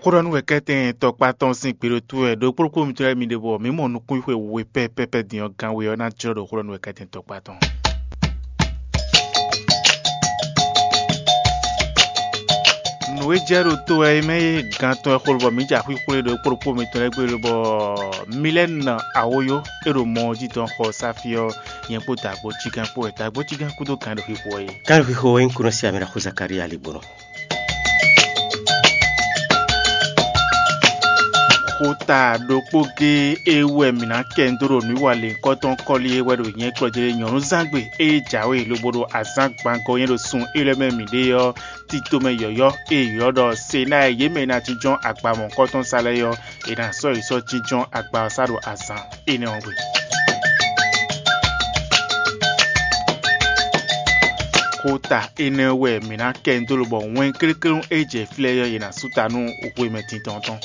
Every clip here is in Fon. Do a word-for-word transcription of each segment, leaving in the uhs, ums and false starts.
Xó ɖɔ nú wɛ kɛ́tɛn tɔkpá tɔn sín gbe ɖo tó wɛ ɖokpóɖokpó mitɔn lɛ́ɛ mi ɖe bɔ mǐ mɔ nukúnxwe we pɛ́pɛ́pɛ́ din ɔ́ gán we ɔ́ ná jlɔ́ ɖo xó ɖɔ nú wɛ kɛ́tɛn tɔkpá tɔn. Nǔ e jɛ ɖo to wɛ é mɛ é gán tɔn wɛ xó lobɔ mǐ ja xwíxwlé ɖokpóɖokpó mitɔn lɛ́ɛ gbe lobɔ Milɛ́nu Awoyó é ɖo mɔ ɔ́ jí dɔn xɔ sáfí ɔ́, nyɛ kpó dǎgbó cígán kpó wɛ dǎgbó cígán kúdó gǎn ɖo xixo ɔ́ é. Kálixixo e nyí kúnɔ sí amɛ ɖaxó Zakalía Ligbɔnɔ. Xota ɖokpó géé e wú wɛ mǐ ná kɛ nyi dó ɖo nǔwiwa lěhunkɔtɔn kɔ́li é wɛ ɖo nyɛ̌ kplɔ́ jlé nyɔ̌nuzángbe e jǎwe lobo ɖo azǎn gbangɔ nyɛ ɖo sun élɔ́ mɛ mǐ ɖe ɔ́, tito mɛ yɔ̌yɔ́ e è ylɔ́ ɖɔ Senáa e yě mɛ e ná jínjɔ́n agba mɔ̌hunkɔtɔn sa lɛ́ɛ ɔ́, è nǎ sɔ́ yě sɔ́ jínjɔ́n agba ɔ́ sá ɖo azǎn énɛ́ ɔ́ gbe. Xota énɛ́ wɛ mǐ ná kɛ nyi dó lobɔ wɛn kléklé e jɛ fí lɛ́ɛ ɔ́, yě ná sú ta nú hwemɛ tintɔn tɔn.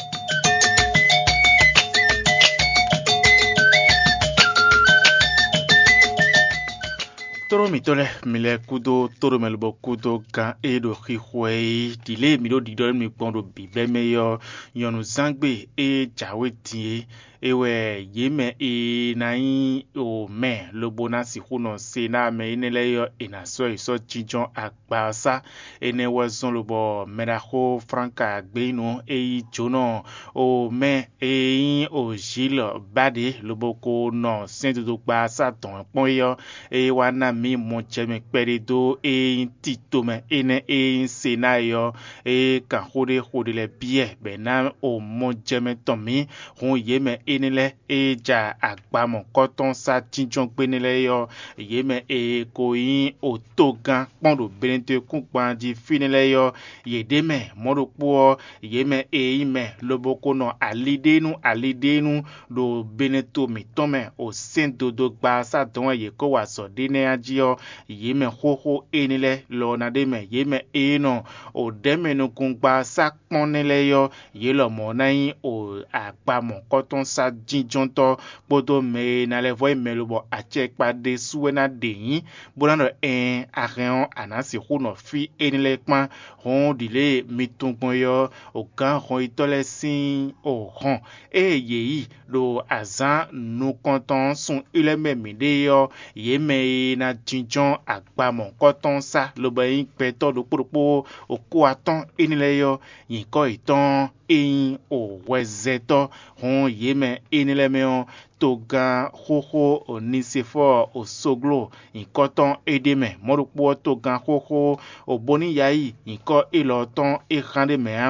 Tóɖó mǐtɔn lɛ́ɛ, mi lɛ́ kúdó tóɖomɛ lobɔ kúdó gán e ɖo xixo ɛ é, ɖǐ lě e mǐ ɖo ɖiɖɔ nú mi gbɔn ɖo bǐbɛ́ mɛ é ɔ́, nyɔ̌nuzángbe e jǎwe din é, é wɛ yě mɛ e ná nyí o mɛ lobo ná sixú nɔ se ná mɛ énɛ́ lɛ́ɛ é ɔ́, è nǎ sɔ́ yě sɔ́ jínjɔ́n agba ɔ́ sá. Énɛ́ wɛ zɔ́n lobɔ mɛɖaxó Flánka Gbeyínu e yí jǒnɔ o mɛ e nyí o Zílɔ ba ɖě lobo ko nɔ sɛ́ndodogba sá dɔ̌n kpɔ́n é ɔ́, é wá ná mǐ mɔjɛmɛ kpɛɖé dó e nyí tito mɛ énɛ́ e nyí Senáa é ɔ́, é kan xó ɖé xo ɖé lɛ́ɛ byɔ́ bɔ è nǎ o mɔjɛmɛ tɔn mǐ. Hǔn yě mɛ énɛ́ lɛ́ɛ e ja agba mɔ̌kɔ́tɔn sá jínjɔ́n gbé nɛ́ lɛ́ɛ é ɔ́, yě mɛ e ko nyí otogán kpɔ́n ɖo Benetɔ́kúngban jí fínɛ́ lɛ́ɛ é ɔ́, yě ɖ'é mɛ mɔ̌ ɖokpó ɔ́, yě mɛ e nyí mɛ lobo ko nɔ ali ɖé nú ali ɖé nú ɖo Beneto mǐtɔn mɛ o sɛ́n dodogba sá dɔn wɛ yě ko wa azɔ̌ ɖé nɛ́ ɔ́ jí ɔ́, yě mɛ xóxó énɛ́ lɛ́ɛ lɔ ná ɖ'é mɛ. Yě mɛ e nɔ o ɖɛ̌mɛ nukúngba sá kpɔ́n nɛ́ lɛ́ɛ ɔ́, yě lɔmɔ̌ ná nyí o agba mɔ̌kɔ́tɔn sá jínjɔ́ntɔ́ kpódó mɛ e ná lɛ́ vɔ́ nyí mɛ lobɔ acɛkpa ɖésú wɛ ná ɖe nyǐ, bó ná ɖɔ ɛɛn, a hɛn ɔ́, a nǎ sixú nɔ fí énɛ́ lɛ́ɛ kpán. Hɔn ɖi lě e mi tunwun gbɔn é ɔ́, gǎn hɔnyitɔ́ lɛ́ɛ sín hɔn ée yě yi ɖo azǎn nukɔntɔn ɔ́ sun ylɔ́ mɛ mǐɖée ɔ́, yě mɛ e ná jínjɔ́n agba mɔ̌kɔ́tɔn sá lobo nyí gbɛtɔ́ ɖokpó ɖokpó okó atɔ́ɔ́n énɛ́ lɛ́ɛ ɔ́, nyǐkɔ yětɔn e nyí hwɛzɛtɔ́ hɔn yě mɛ énɛ́ lɛ́ɛ mɛ ɔ́, togán xóxó Onisefɔ́ɔ Osogló nyǐkɔ tɔn é ɖ'é mɛ. Mɔ̌ ɖokpó ɔ́, togán xóxó Oboniyayi nyǐkɔ élɔ́ tɔn é hán ɖ'é mɛ ǎ.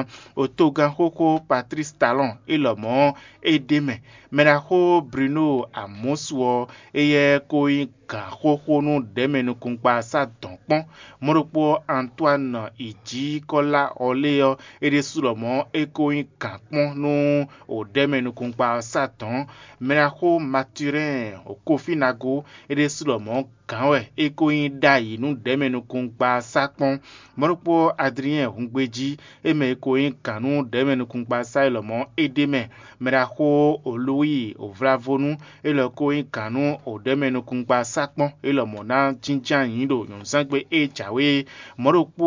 Togán xóxó Patlísi Talɔn é lɔmɔ̌ é ɖ'é mɛ. Mɛɖaxó Bruno Amɔsu ɔ́, éyɛ́ ko nyí gǎn xóxó nú ɖɛ̌mɛ nukúnkpa sá dɔ̌n kpɔ́n. Mɔ̌ ɖokpó ɔ́, Antoine Ijǐkɔ́lá Ɔlée ɔ́, é ɖésú lɔmɔ̌ é ko nyí gǎn kpɔ́n nú ɖɛ̌mɛ nukúnkpa ɔ́ sá dɔ̌n. Mɛɖaxó Maturɛ́n Kofínago, é ɖésú lɔmɔ̌ gǎn wɛ é ko nyí ɖ'ayǐ nú ɖɛ̌mɛ nukúnkpa sá kpɔ́n. Mɔ̌ ɖokpó ɔ́, Adliɛ́n Hungbejí, é mɛ e ko nyí gǎn nú ɖɛ̌mɛ nukúnkpa sá é lɔmɔ̌ é ɖ'é mɛ. Mɛɖaxó Olúwi Ovlavónú, é lɔ ko nyí gǎn nú ɖɛ̌mɛ nukúnkpa sá kpɔ́n é lɔmɔ̌ ná jínjɔ́n ayǐ ɖo nyɔ̌nuzángbe e jǎwe é. Mɔ̌ ɖokpó